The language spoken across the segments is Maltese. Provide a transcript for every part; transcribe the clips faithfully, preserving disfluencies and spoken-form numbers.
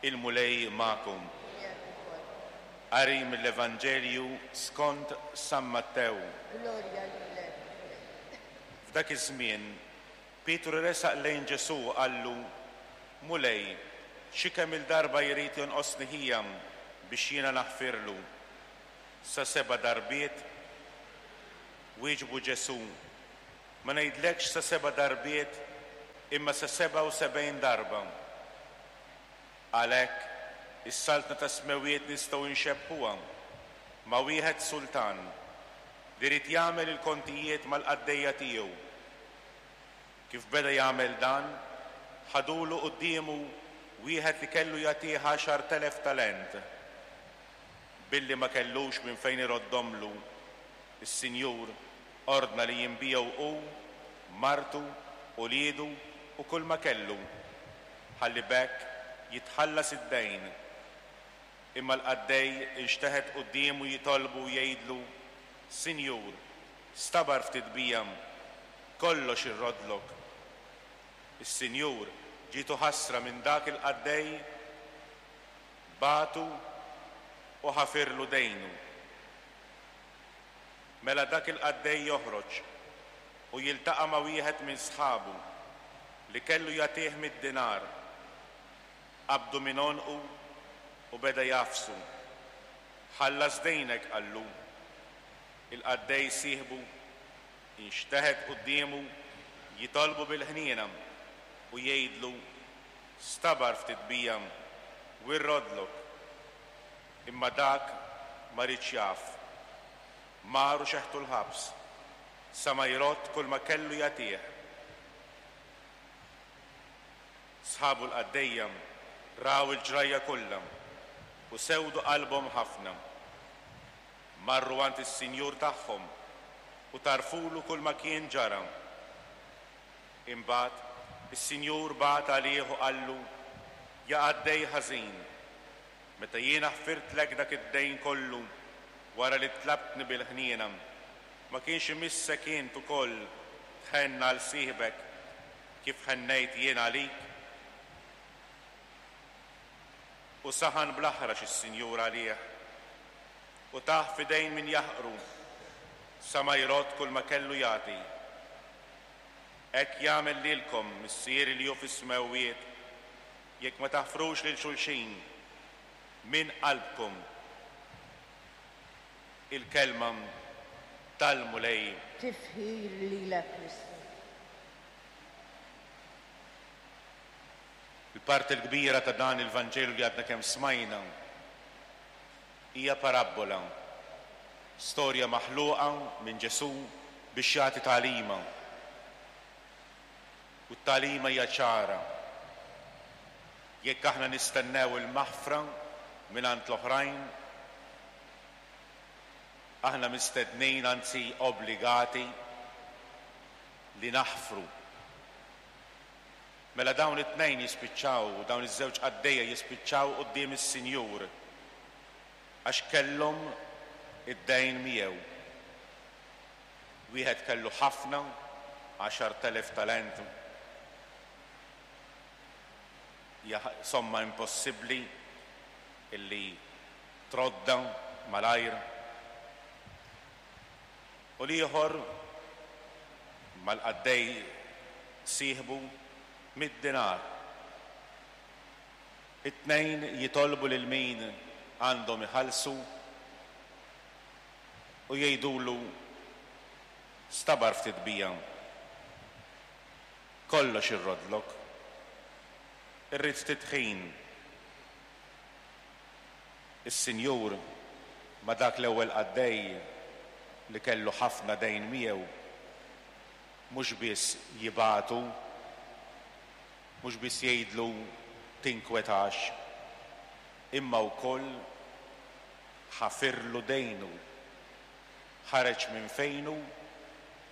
Il-Mulej magħkom. Miegħek ukoll. Qari mill-Evanġelju skont San Mattew. Glorja lilek, Mulej. F'dak iż-żmien, Pietru resaq lejn Ġesù u qallu: Mulej, xi kemm il-darba jrid jonqosni ħija biex jiena naħfirlu? Sa seba' darbiet? Wieġbu Ġesù: Ma ngħidlekx sa seba' darbiet, imma sa sebgħa u sebgħin darba. Għalhekk, is-saltna tas-smewwiet nistgħu nxebbhuha ma' wieħed sultan li ried jagħmel il-kontijiet mal-qaddejja tiegħu. Kif beda jagħmel dan, ħadulu quddiemu wieħed li kellu jagħtih għaxart elef talent. Billi ma kellux minn fejn iroddomlu, is-Sinjur ordna li jinbiegħu hu, martu, uliedu u kull ma kellu, ħalli b'hekk jitħallas id-dejn. Imma l-qaddej inxteħet quddiemu jitolbu u jgħidlu: Sinjur, stabar ftit bija, kollox irrodlok. Is-Sinjur ġietu ħasra minn dak il-qaddej, bagħtu u ħafirlu dejnu. Mela dak il-qaddej joħroġ u jiltaqa' ma' wieħed minn sħabu li kellu jagħtih mitt dinar. Qabdu minn għonqu u beda jagħfsu. Ħallas dejnek, qallu. Il-qaddej sieħbu inxteħet quddiemu jitolbu bil-ħniena u jgħidlu: Stabar ftit bija u rrodlok. Imma dak ma riedx jaf. Mar u xeħtu l-ħabs sa ma jrodd kull ma kellu jagħtih. Sħabu l-qaddejja raw il-ġrajja kollha u sewdu qalbhom ħafna. Marru għand is-sinjur tagħhom u tarfulu kull ma kien ġara. Imbagħad is-sinjur bagħat għalih u qallu: Ja qaddej ħażin, meta jiena ħfirtlek dak id-dejn kollu wara li tlabtni bil-ħniena, ma kienx imissek int ukoll tħenn għal sieħbek kif ħennejt jien għalik? U saħan bl-aħrax is-sinjur għalih u tah f'idejn min jaħqru sa ma jrodd kull ma kellu jagħti. Hekk jagħmel lilkom Missieri li hu fis-smewwiet jekk ma taħfrux lil xulxin minn qalbkom. Il-kelma tal-Mulej. Tifħir lilek, Kristu. Il-parti l-kbira ta' dan il-Vanġelu li għadna kemm smajna hija parabbola, storja maħluqa minn Ġesù biex jagħti tagħlima. U t-tagħlima hija ċara. Jekk aħna nistennew il-maħfra mingħand l-oħrajn, aħna mistednin, anzi obbligati, li naħfru. Mela dawn it-tnejn jispiċċaw, dawn iż-żewġ qaddejja jispiċċaw quddiem is-Sinjur għax kellhom id-dejn miegħu. Wieħed kellu ħafna, għaxart elef talent, hija somma impossibbli illi trodda malajr. U l-ieħor mal-qaddej sieħbu mitt dinar. It-tnejn jitolbu lil min għandhom iħallsu u jgħidulu: Stabar ftit bija, kollox irrodlok, irrid ftit ħin. Is-Sinjur ma' dak l-ewwel qaddej li kellu ħafna dejn miegħu mhux biss jibagħtu, mhux biss jgħidlu tinkwetax, imma wkoll ħafirlu dejnu. Ħareġ minn fejnu,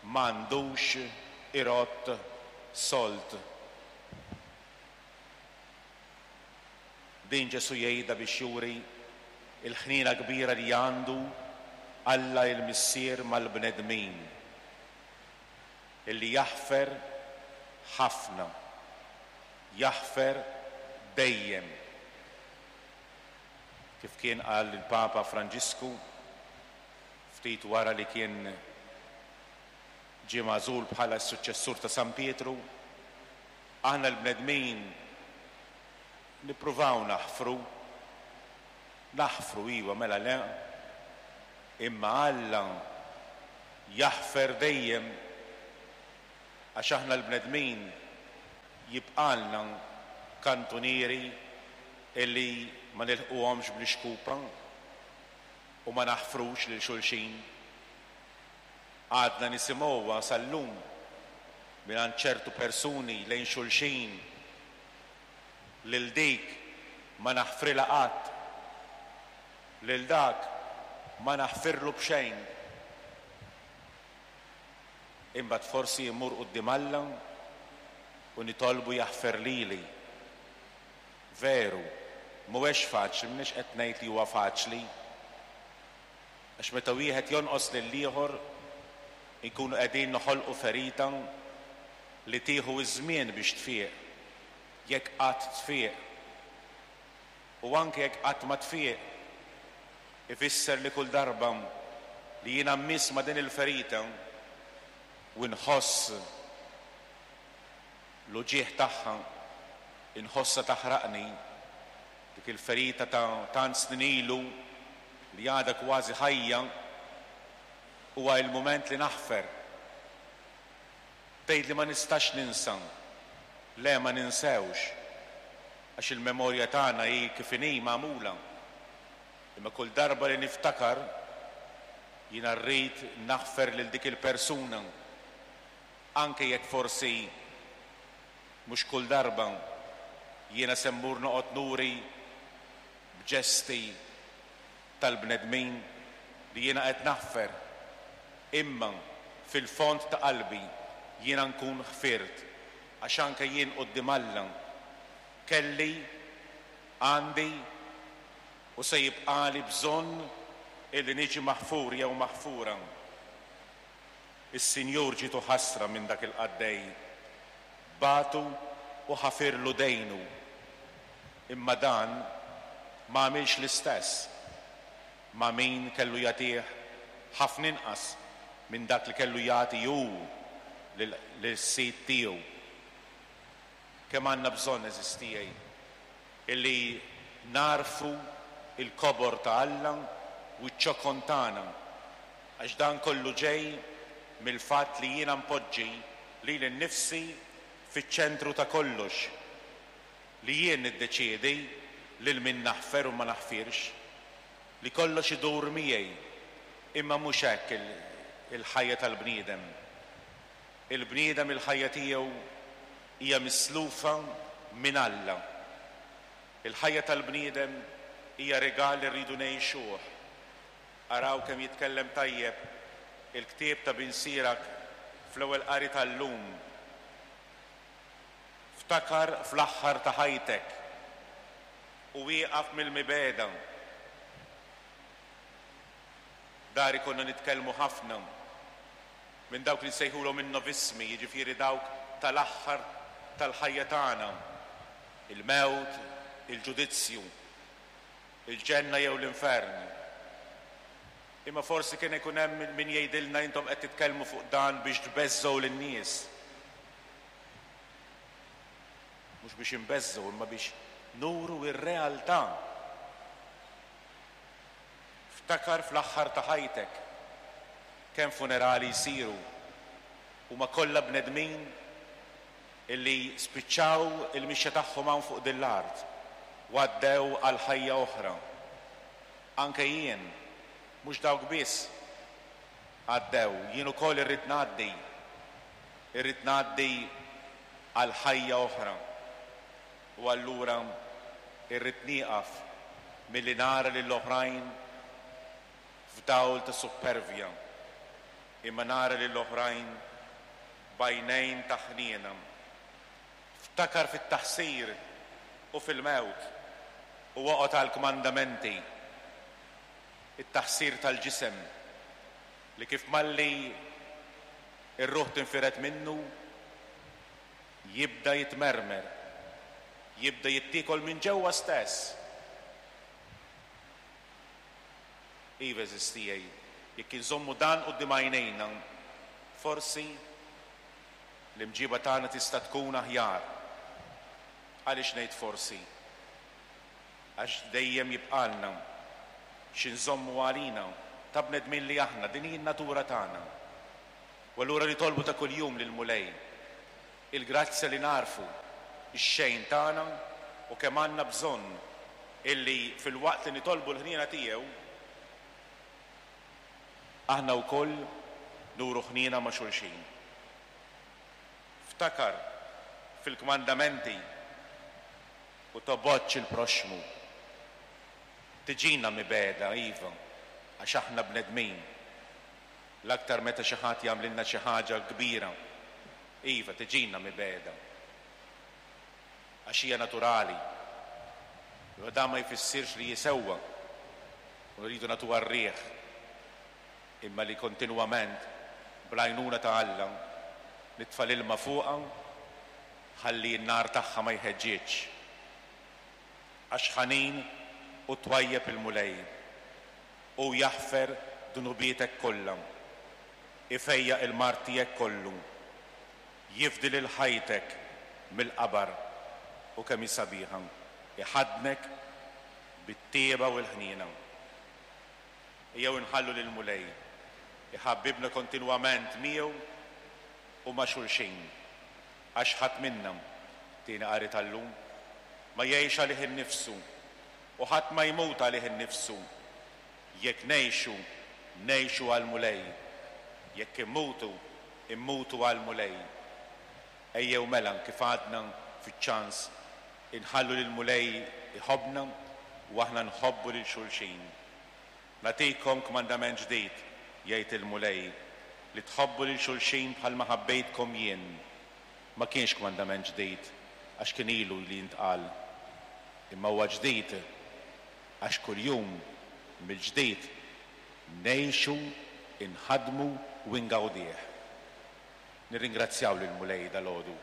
m'għandux irodd sold. Din Ġesù jgħidha biex juri l-ħniena kbira li għandu Alla il-Missier mal-bnedmin, illi jaħfer ħafna, jaħfer dejjem. Kif kien qal il-Papa Franġisku ftit wara li kien ġie magħżul bħala s-suċċessur ta' San Pietru, aħna l-bnedmin nippruvaw naħfru, naħfru iva mela le, imma Alla jaħfer dejjem għax aħna l-bnedmin jibqalna kantunieri illi ma nilħquhomx bl-ixkupa u ma naħfrux lil xulxin. Għadna nisimgħuha sal-lum mingħand ċertu persuni lejn xulxin lil dik ma naħfrilha qatt, lil dak ma naħfirlu b'xejn. Imbagħad forsi jmur quddiem Alla u nitolbu jaħfer lili. Veru, mhuwiex faċli, m'iniex qed ngħid li huwa faċli. Għax meta wieħed jonqos lill-ieħor inkunu qegħdin noħolqu ferita li tieħu ż-żmien biex tfieq, jekk qatt tfieq. U anke jekk qatt ma tfieq, ifisser li kull darba li jiena mmiss ma' din il-ferita u nħoss l-uġigħ tagħha, inħossha taħraqni, dik il-ferita ta' tant snin ilu li għadha kważi ħajja, huwa il-mument li naħfer. Tgħid li ma nistax ninsa. Le, ma ninsewx, għax il-memorja tagħna hi kif inhi magħmula. Imma kull darba li niftakar jiena rrid naħfer lil dik il-persuna, anke jekk forsi mhux kull darba jiena se mmur noqgħod nuri b'ġesti tal-bnedmin li jiena qed naħfer, imma fil-fond ta' qalbi jiena nkun ħfirt, għax anke jien quddiem Alla kelli, għandi u se jibqali bżonn illi niġi maħfur jew maħfura. Is-Sinjur ġietu ħasra minn dak il-qaddej, bagħtu u ħafirlu dejnu, imma dan ma għamilx l-istess ma' min kellu jagħtih ħafna inqas minn dak li kellu jagħti hu lis-sid tiegħu. Kemm għandna bżonn, għeżież tiegħi, illi narfu il-kobor ta' Alla u ċ-ċokon tagħna, għax dan kollu ġej mill-fatt li jiena npoġġi lili nnifsi fiċ-ċentru ta' kollox, li jien niddeċiedi lil min naħfer u ma naħfirx, li kollox idur miegħi, imma mhux hekk il-ħajja tal-bniedem. Il-bniedem il-ħajja tiegħu hija mislufa minn Alla. Il-ħajja tal-bniedem hija rigal li rridu ngħixuh. Araw kemm jitkellem tajjeb il-ktieb ta' Bin Sirak fl-ewwel qari tal-lum. Ftakar fl-aħħar ta' ħajtek u wieqaf mill-mibegħda. Dari konna nitkellmu ħafna minn dawk li nsejħulhom in-novismi, jiġifieri dawk tal-aħħar tal-ħajja tagħna, il-mewt, il-ġudizzju, il-ġenna jew l-infern. Imma forsi kien ikun hemm min jgħidilna intom qed titkellmu fuq dan biex tbeżżgħu lin-nies. Mhux biex inbeżżgħu, imma biex nuru r-realtà. Ftakar fl-aħħar ta' ħajtek kemm funerali jsiru huma kollha bnedmin illi spiċċaw il-mixja tagħhom hawn fuq din l-art u għaddew għal ħajja oħra. Anke jien, mhux dawk biss għaddew, jien ukoll irrid ngħaddi, irrid ngħaddi għal ħajja oħra. U allura irrid nieqaf milli nara lill-oħrajn f'dawl ta' suppervja, imma nara lill-oħrajn b'għajnejn ta' ħniena. Ftakar fit-taħsir u fil-mewt u oqgħod għall-kmandamenti. It-taħsir tal-ġisem li kif malli ir-ruħ tinfired minnu jibda jitmermer, jibda jittiekol minn ġewwa stess. Iva, għeżież tiegħi, jekk inżommu dan quddiem għajnejna, forsi l-imġiba tagħna tista' tkun aħjar. Għaliex ngħid forsi? Għax dejjem jibqalna xi nżommu għalina ta' bnedmin li aħna, din hi n-natura tagħna. U allura nitolbu ta' kuljum lill-Mulej il-grazzja li nagħrfu x-xejn tagħna u kemm għandna bżonn illi filwaqt li nitolbu l-ħniena tiegħu aħna wkoll nuru ħniena ma' xulxin. Ftakar fil-kmandamenti u tobgħodx il-proxxmu. Tiġina mibegħda, iva, għax aħna bnedmin. L-aktar meta xi ħadd jagħmlilna xi ħaġa kbira. Iva, tiġina mibegħda. Għax hija naturali. U dan ma jfissirx li jisewwa u rridu nagħtuha r-riħ, imma li kontinwament bl-għajnuna ta' Alla nitfa' l-ilma fuqha ħalli n-nar tagħha ma jħeġġieġx. Għax ħanin u twajjeb il-Mulej, u jaħfer dnubietek kollha, ifejjaq il-mard tiegħek kollu, jifdi lil ħajtek mill-qabar, u kemm hi sabiħa, iħaddnek bit-tieba u l-ħniena. Ejjew inħallu lill-Mulej iħabbibna kontinwament miegħu u ma' xulxin, għax ħadd minna, tieni qari tal-lum, ma jgħix għalih innifsu u ħadd ma jmut għalih innifsu. Jekk ngħixu, ngħixu għall-Mulej. Jekk immutu, immutu għall-Mulej. Ejjew mela kif għadna fiċ-ċans inħallu lill-Mulej iħobbna u aħna nħobbu lil xulxin. Nagħtikom kmandament ġdid, jgħid il-Mulej, li tħobbu lil xulxin bħalma ħabbejtkom jien. Ma kienx kmandament ġdid għax kien ilu li jintqal, imma huwa ġdid għax kuljum mill-ġdid ngħixu, inħadmu u ngawdih. Nirringrazzjaw lill-Mulej dalgħodu,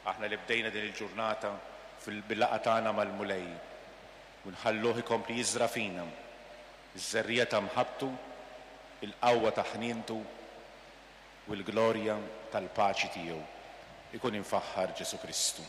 aħna li bdejna din il-ġurnata fil-laqgħa tagħna mal-Mulej, u nħalluh ikompli jiżra' fina iż-żerriegħa ta' mħabbtu, il-qawwa ta' ħnientu u l-glorja tal-paċi tiegħu. Ikun imfaħħar Ġesù Kristu.